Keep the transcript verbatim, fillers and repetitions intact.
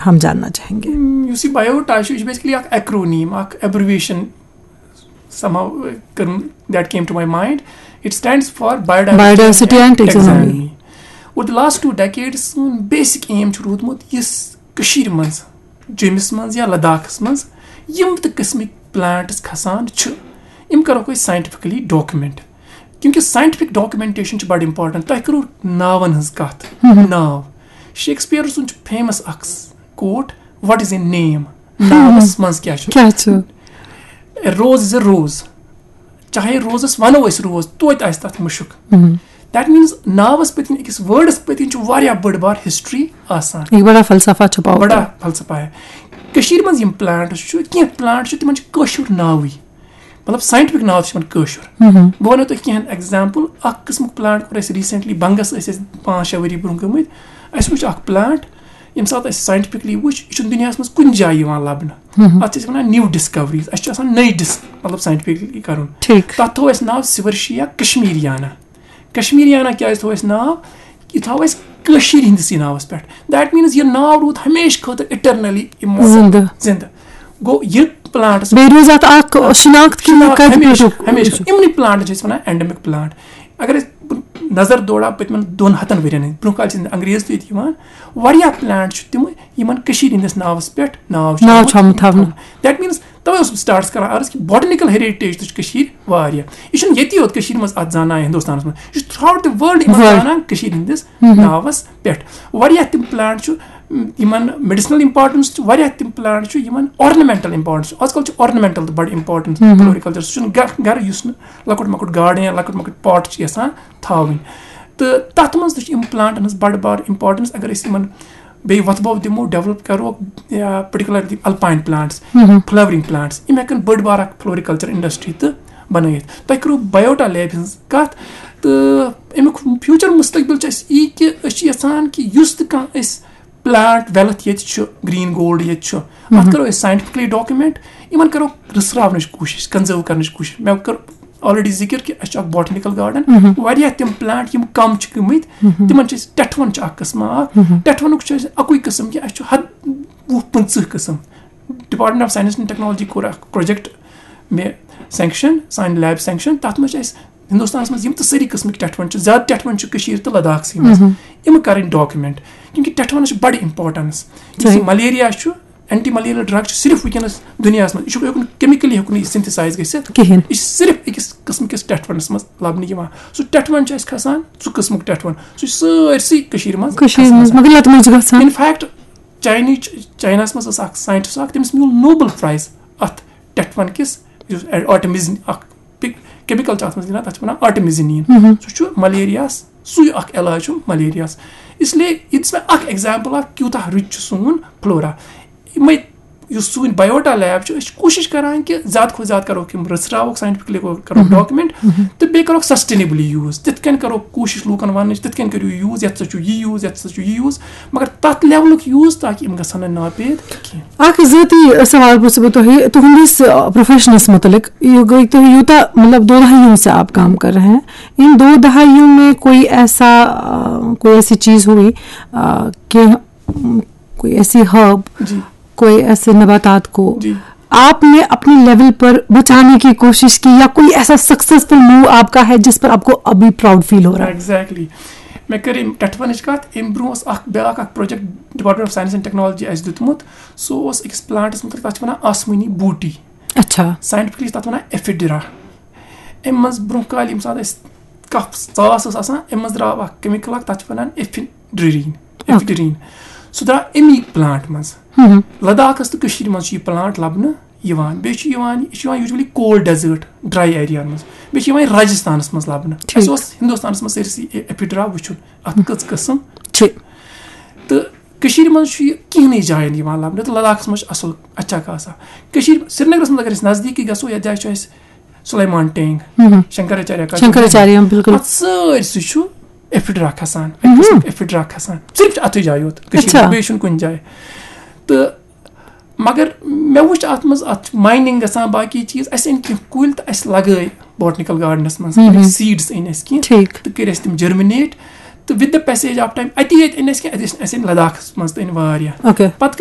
ہم جاننا چاہیں گے۔ یُس یہِ بایوٹا چھُ، یہِ چھُ basically اکھ acronym، اکھ abbreviation، somehow کٔرٕم that came to my mind. It stands for biodiversity, Biodiversity and Taxonomy. Over the last two decades سون basic aim چھُ روٗدمُت یُس کٔشیٖرِ منٛز، جیٚمِس منٛز یا لداخس منٛز یِم تہِ قٕسمٕکۍ plants کھسان چھِ، یِم کرو أسۍ scientifically document. کیونکہ scientific documentation چھِ بڑٕ important. تۄہہِ کٔرٕو ناون ہٕنٛز کتھ۔ ناو، شیکسپیئر سُنٛد چھُ famous اکھ quote: "What is a name؟" ناوس منٛز کیٛاہ چھُ؟ کیٛاہ چھُ؟ A rose is a rose. چاہے روزس ونو أسۍ روز، توتہِ آسہِ تتھ مُشُک۔ That means ناوس پٔتۍ کِنۍ، أکِس wordس پٔتۍ کِنۍ چھُ واریاہ بٔڑ بار history آسان۔ یہ بڑا فلسفہ چھُپاوُت۔ بڑا فلسفہ ہے۔ کٔشیٖرِ منٛز یِم plants چھِ، کینٛہہ plants چھِ، تِمن چھِ کٲشُر ناوٕے۔ مطلب scientific ناو چھُ یِمن کٲشُر۔ بہٕ ونو تۄہہِ کینٛہہ example۔ اکھ قٕسمُک plant کوٚر اَسہِ recently، بنگس ٲسۍ أسۍ پانٛژھ شےٚ ؤری برونٛہہ گٔمٕتۍ۔ اَسہِ وٕچھ اکھ plant، ییٚمہِ ساتہٕ اَسہِ scientifically وٕچھ، یہِ چھُنہٕ دُنیاہس منٛز کُنہِ جایہِ یِوان لبنہٕ۔ اتھ چھِ أسۍ ونان new discoveries۔ اَسہِ چھُ آسان نٔے ڈِس مطلب scientifically کرُن۔ ٹھیٖک۔ تتھ تھوٚو اَسہِ ناو Swirschia کشمیریانا۔ کشمیریانا کیٛازِ تھوٚو اَسہِ ناو؟ یہِ تھاوو أسۍ کٲشِر ہِنٛدِسٕے ناوس پٮ۪ٹھ۔ That means یہِ ناو روٗد ہمیشہِ خٲطرٕ eternally immortal۔ زِندٕ۔ زِندٕ۔ گوٚو یہِ plantس بیٚیہِ روٗز اتھ اکھ شناخت کہِ یہِ شناخت کتہِ ہمیشہِ، پٮ۪ٹھُک ہمیشہِ۔ چھُ۔ یِمنٕے plantن چھِ أسۍ ونان endemic plant۔ اگر أسۍ نظر دورا پٔتمٮ۪ن دۄن ہتن ؤرین ہٕنٛدۍ، برونٛہہ کالہِ چھِ انگریز تہِ ییٚتہِ یِوان، واریاہ plant چھِ تِم، یِمن کٔشیٖرِ ہٕنٛدِس ناوس پٮ۪ٹھ ناو چھُ ناو آمُت چھُ آمُت تھاونہٕ۔ That means توے اوسُس بہٕ start کران عرض کہِ botanical heritage تہِ چھِ کٔشیٖرِ واریاہ۔ یہِ چھُنہٕ ییٚتی یوت کٔشیٖرِ منٛز اتھ زانان یا ہندوستانس منٛز، یہِ چھُ throughout the world یِمن World۔ زانان کٔشیٖرِ ہٕنٛدِس ناوس پٮ۪ٹھ۔ واریاہ تِم plant چھُ، م، یِمن medicinal importance چھِ، واریاہ تِم plant چھِ یِمن ornamental importance چھِ۔ آز کل چھُ ornamental تہِ بڑٕ important floriculture۔ سُہ چھُنہٕ گرٕ گرٕ یُس نہٕ لۄکُٹ مۄکُٹ garden یا لۄکُٹ مۄکُٹ pot چھِ یژھان تھاوٕنۍ۔ تہٕ تتھ منٛز تہِ چھِ یِم plantن ہٕنٛز بڑٕ بار importance۔ اگر أسۍ یِمن بیٚیہِ وۄتھٕ بو دِمو، develop کرو یا particularly alpine plants، flowering plants، یِم ہٮ۪کن بٔڑ بار اکھ floriculture industry تہِ بنٲیِتھ۔ تۄہہِ کٔرٕو biota lab ہٕنٛز کتھ، تہٕ امیُک future مستقبل چھُ اَسہِ یی کہِ أسۍ چھِ یژھان کہِ یُس تہِ کانٛہہ اَسہِ plant wealth ییٚتہِ چھُ، green gold ییٚتہِ چھُ، اتھ کرو أسۍ scientifically document، یِمن کرو رٕژھراونٕچ کوٗشش، conserve کرنٕچ کوٗشش۔ مےٚ کٔر already ذِکر کہِ اَسہِ چھُ اکھ botanical garden، واریاہ تِم plant یِم کم چھِ گٔمٕتۍ، تِمن چھِ أسۍ ٹٮ۪ٹھوَن چھُ اکھ قٕسم اکھ۔ ٹٮ۪ٹھوَنُک چھُ اَسہِ اَکُے قٕسم کہِ اَسہِ چھُ حد وُہ پٕنٛژٕہ قٕسم۔ Department of Science and Technology کوٚر اکھ project مےٚ sanction، سانہِ lab sanction، تتھ منٛز چھِ اَسہِ ہندوستانس منٛز یِم تہِ سٲری قٕسمٕکۍ ٹٮ۪ٹھوَن چھِ، زیادٕ ٹٮ۪ٹھوَن چھِ کٔشیٖر تہٕ لداخسٕے منٛز، یِم کرٕنۍ document، کیونکہ ٹٮ۪ٹھوَنس چھِ بڑٕ importance۔ یُس یہِ صحیح۔ ملیریا چھُ، anti malarial drug چھُ صرف وٕنکیٚنس دُنیاہس منٛز، یہِ چھُ ہیوٚکُن chemically ہیوٚکُن یہِ synthesize گٔژھِتھ۔ کِہیٖنۍ۔ یہِ چھُ صرف أکِس قٕسمٕکِس ٹٮ۪ٹھوَنس منٛز لبنہٕ یِوان۔ سُہ ٹٮ۪ٹھوَن چھُ اَسہِ کھسان، سُہ قٕسمُک ٹٮ۪ٹھوَن، سُہ چھُ سٲرسٕے کٔشیٖرِ منٛز کٔشیٖرِ کھسان۔ منٛز مگر لتہٕ موٚنٛجہِ گژھان۔ In fact چاینٕچ، چایناہس منٛز ٲس اکھ scientist اکھ، تٔمِس میوٗل Nobel Prize اتھ ٹٮ۪ٹھوَن کِس، یُس artemisinin اکھ chemical چھُ اتھ منٛز گِنٛدان، تتھ چھِ ونان artemisinin۔ سُہ چھُ ملیریاہس سُے اکھ علاج چھُ ملیریاہس۔ اس لیے یہِ دِژ مےٚ اکھ example اکھ کیوٗتاہ rich چھُ سون flora۔ یِمے یُس سون biota lab چھُ، أسۍ چھِ کوٗشِش کران کہِ زیادٕ کھۄتہٕ زیادٕ کرو یِم رٔژھراووکھ، scientifically کرو document، تہٕ بیٚیہِ کرو sustainably use۔ تِتھ کٔنۍ کرو کوٗشِش لوٗکن وننٕچ، تِتھ کٔنۍ کٔرِو use، یتھ سۭتۍ چھُ یہِ use، یتھ سۭتۍ چھُ یہِ use، مگر تتھ levelُک use تاکہِ یِم گژھن نہٕ ناپید کینٛہہ۔ اکھ ذٲتی سوال پرژھٕ بہٕ تۄہہِ، تُہنٛدِس، آ، professionس متعلق۔ یہِ گٔے تُہۍ یوٗتاہ، مطلب، دو دہائیوں سے آپ کام کر رہے ہیں، ان دو دہائیوں میں کوئی ایسا، آ، کوئی ایسی چیز ہوئی، آ، کہ کوئی ایسی herb، جی۔ کوئی ایسے نباتات کو جی۔ آپ نے اپنے level پر بچانے کی کوشش کی، یا کوئی ایسا successful move آپ کا ہے جس پر آپ کو ابھی proud feel ہو رہا ہے؟ Exactly۔ مےٚ کٔر أمۍ ٹٮ۪ٹھوَنٕچ کَتھ، اَمہِ برونٛہہ اوس اکھ بیٛاکھ اکھ project Department of Science and Technology اَسہِ دیُتمُت۔ سُہ اوس أکِس plantس مُتعلِق، تَتھ چھِ وَنان آسمٲنی بوٗٹی۔ اچھا۔ Scientifically چھِ تَتھ وَنان Ephedra۔ اَمہِ منٛز برونٛہہ کالہِ ییٚمہِ ساتہٕ اَسہِ کَف ژاس ٲس آسان، اَمہِ منٛز درٛاو اکھ chemical اکھ، تَتھ چھِ وَنان Ephedrine۔ Ephedrine۔ سُہ درٛاو اَمی plant منٛز۔ لداخس تہٕ کٔشیٖرِ منٛز چھُ یہِ plant لبنہٕ یِوان۔ بیٚیہِ چھُ یِوان، یہِ چھُ یِوان usually cold desert، dry areaہن منٛز۔ بیٚیہِ چھُ یِوان یہِ راجستھانس منٛز لبنہٕ۔ ٹھیٖک۔ اَسہِ اوس ہندوستانس منٛز سٲرسٕے Ephedra وٕچھُن، اتھ کٔژ قٕسم۔ چھِ۔ تہٕ کٔشیٖرِ منٛز چھُ یہِ کِہنٕے جاین یِوان لبنہٕ، تہٕ لداخس منٛز چھُ اصل اچھا خاصا۔ کٔشیٖرِ، سرینگرس منٛز اگر أسۍ نزدیٖکی گژھو، یتھ جایہِ چھُ اَسہِ سلیمان ٹینگ، ہم۔ شنکراچاریا کا شنکراچاریہ، بِلکُل۔ اتھ سٲرسٕے چھُ Ephedra کھسان، اَکہِ قٕسمُک Ephedra کھسان، صرف چھُ اتھٕے جایہِ یوت کٔشیٖرِ منٛز، اچھا۔ بیٚیہِ چھُنہٕ کُنہِ جایہِ۔ تہٕ مگر مےٚ وٕچھ اتھ منٛز، اتھ چھُ mining گژھان، باقٕے چیٖز، اَسہِ أنۍ کینٛہہ کُلۍ تہٕ اَسہِ لگٲے botanical gardenس منٛز، کٔرۍ seeds أنۍ اَسہِ کینٛہہ ٹھیٖک۔ تہٕ کٔرۍ اَسہِ تِم germinate، تہٕ with the passage of time، اتی یٲتۍ أنۍ اَسہِ کینٛہہ، اَتہِ ٲسۍ اَسہِ أنۍ لداخس منٛز تہٕ أنۍ واریاہ۔ اوکے۔ پتہٕ